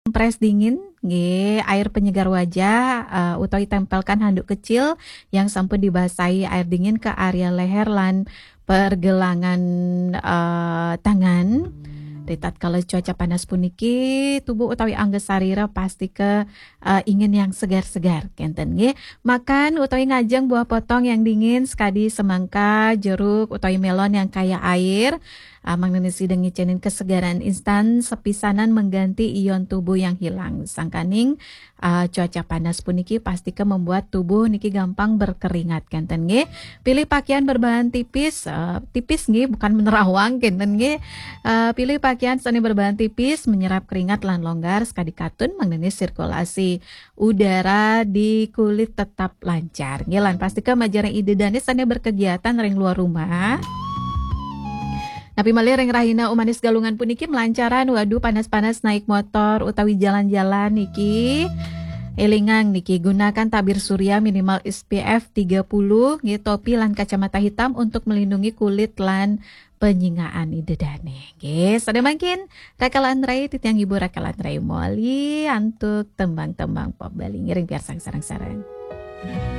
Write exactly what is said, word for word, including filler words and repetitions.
kompres dingin, nggih, air penyegar wajah, eh, utawi tempelkan handuk kecil yang sampun dibasahi air dingin ke area leher lan pergelangan, eh, tangan. Ritatkala cuaca panas puniki, tubuh utawi angga sarira pasti ke, eh, ingin yang segar-segar, kenten nggih. Makan utawi ngajeng buah potong yang dingin, sekadi semangka, jeruk, utawi melon yang kaya air. Ah, mangda sida ngicenin kesegaran instan, sepisanan mengganti ion tubuh yang hilang. Sangkaning, ah, cuaca panas puniki pasti ke membuat tubuh niki gampang berkeringat, kenten nggih. Pilih pakaian berbahan tipis, eh, tipis nggih, bukan menerawang, kenten nggih. Eh, pilih pakaian sane berbahan tipis, menyerap keringat lan longgar, sekadi katun mangda sirkulasi udara di kulit tetap lancar. Nggih, lan pasti ke majeng ida dane sane berkegiatan ring luar rumah. Napi malih ring rahina Umanis Galungan puniki melancaran, waduh, panas-panas naik motor utawi jalan-jalan niki. Elingang niki, gunakan tabir surya minimal S P F tiga puluh, nggih, topi lan kacamata hitam untuk melindungi kulit lan penyingaan ida dane. Nggih, sane mangkin Rakalan Rai, titiang ibu Rakalan Rai moli antuk tembang-tembang pop Bali ngiring piarsang sareng-sareng.